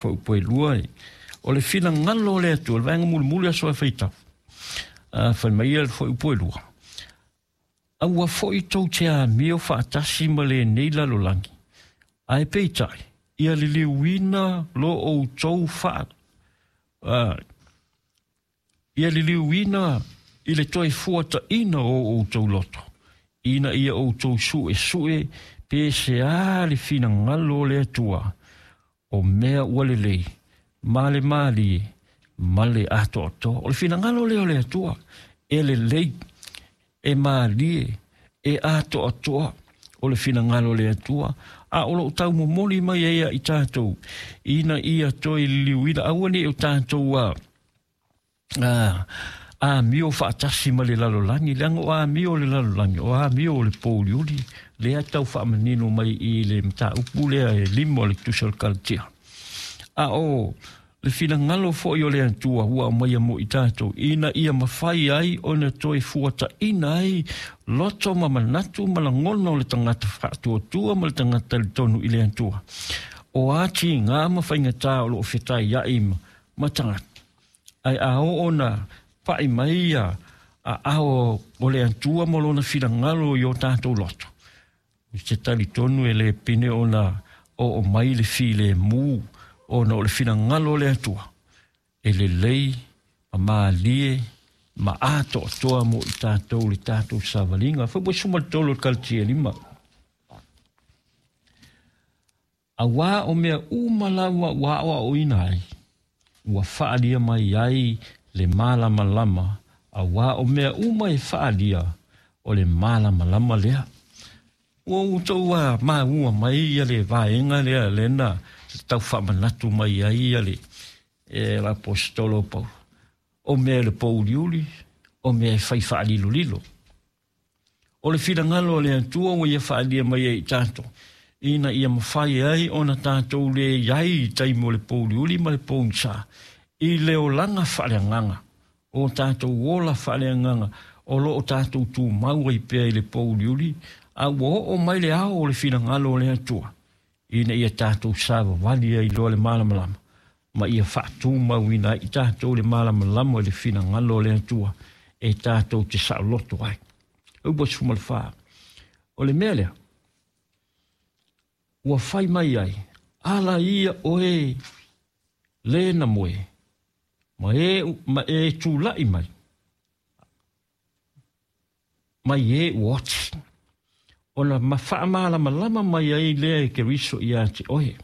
Fuaiupu e lua, o le finagalo o le Atua, le vaega mulimuli aso e faitau. Fai mai ia le fuaiupu e lua, aua foi tou te amio faatasi ma lenei lalolagi, ae peitai, ia liliuina lo outou faa, ia liliuina i le toe fuataina o outou loto, ina ia outou suesue pe se a le finagalo o le Atua, o mea ua lelei, ma le malie, ma le atoatoa. O le finagalo lea o le Atua, e lelei, e malie, e atoatoa, o le finagalo o le Atua. A o loo taumomoli mai ai ia i tatou, ina ia toe liliuina, aua ne i o tatou amio faatasi ma le lalolagi, leaga o amio o le lalolagi, o amio o le pouliuli, lea tau faamanino mai i le mataupu lea e 5 o le tusi o le Kalatia. A o le finagalo foi o le Atua ua aumaia mo i tatou, ina ia mafai ai ona toe fuataina ai loto ma manatu ma lagona o le tagata faatuatua ma le tagata talitonu i le Atua. O a tiga ma faigata o loo fetaiai ma tagata, ai a oo ona pai mai ia aao o le Atua ma lona finagalo i o tatou loto, se talitonu e le pine ona oo mai le filemu, ona o le finagalo o le Atua e lelei ma malie ma atoatoa mo i tatou le tatou savaliga. Foi ua suma le tolu o le Kalatia 5. Auā o mea uma lava ua aoaoina ai, ua faalia mai ai le malamalama, auā o mea uma e faalia o le malamalama lea. Ua outou maua mai ia le vaega lea lena tau faamanatu mai ai ia le l'apostolo Paulo. O mea le pouliuli, o mea e fai faalilolilo. O le finagalo o le Atua ua ia faalia mai ai i tatou, ina ia mafai ai ona tatou le iai i taimi o le pouliuli ma le pogisa, i le olaga faaleagaga, o tatou ola faaleagaga, o loo tatou tumau ai pea i le pouliuli, a ua oo mai le ao o le finagalo o le Atua, ina ia tatou savavali ai loa le malamalama, ma ia faatumauina ai i tatou le malamalama i le finagalo o le Atua, e tatou te saoloto ai. Upu 14. O le mea lea, ua fai mai ai, ala ia oe le na moe, ma e tulai mai, mai e ua oti. Ona ma faamalamalama mai ai lea e Keriso ia te oe.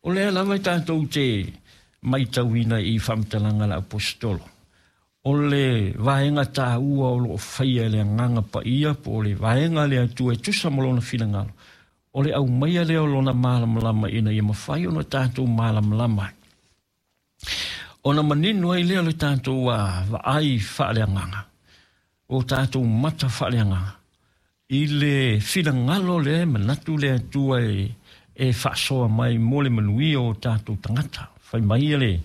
O lea lava e tatou te maitauina i faamatalaga a le apostolo. O le vaega taua o loo faia e le agaga paia po o le vaega le Atua e tusa ma lona finagalo. O le aumaia lea o lona malamalama ina ia mafai ona tatou malamalama ai. Ona manino ai lea o le tatou vaai faaleagaga, o tatou mata faaleagaga, i le finagalo lea e manatu le Atua e faasoa mai mo le manuia o tatou tagata. Fai mai le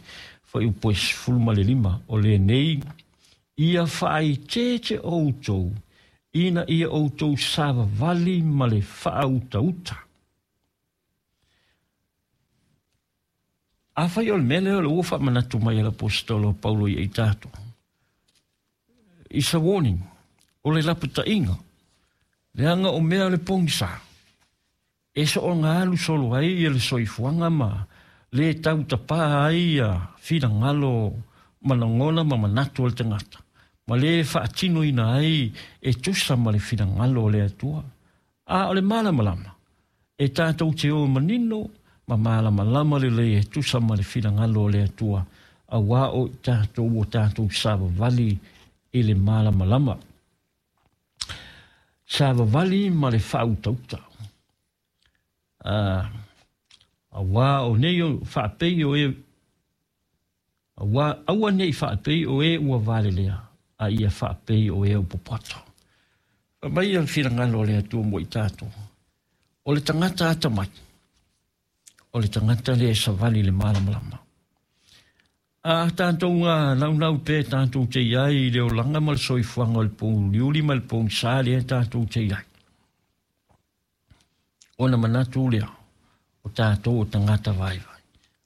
fuaiupu e 15, o lenei, ia faaeteete outou, ina ia outou savavali ma le faautauta. A fai o le mea lea o le ua faamanatu mai e le apostolo Paulo ia i tatou. It's a warning. O le lapataiga. Leaga o mea o le pogisa. E soonga alu solo ai ia le soifuaga ma le tautapā ai ia finagalo ma lagona ma manatu o le tagata. Ma le faatinoina ai e tusa ma le finagalo o le Atua. A o le malamalama, e tatou te o manino ma malamalama lelei e tusa ma le finagalo o le Atua, auā o i tatou o tatou savavali i le malamalama. Savavali ma le faautauta. Auā o nei o faapei o e, auā, aua nei faapei o e ua valelea, a ia faapei o e o popoto. Fai mai ia le finagalo o le Atua mo i tatou. O le tagata atamai, o le tagata lea e savali i le malamalama. A tatou naunau pea tatou te iai i le olaga ma le soifuaga o le pouliuli ma le pogisa lea tatou te iai. Ona manatu lea, o tatou o tagata vaivai.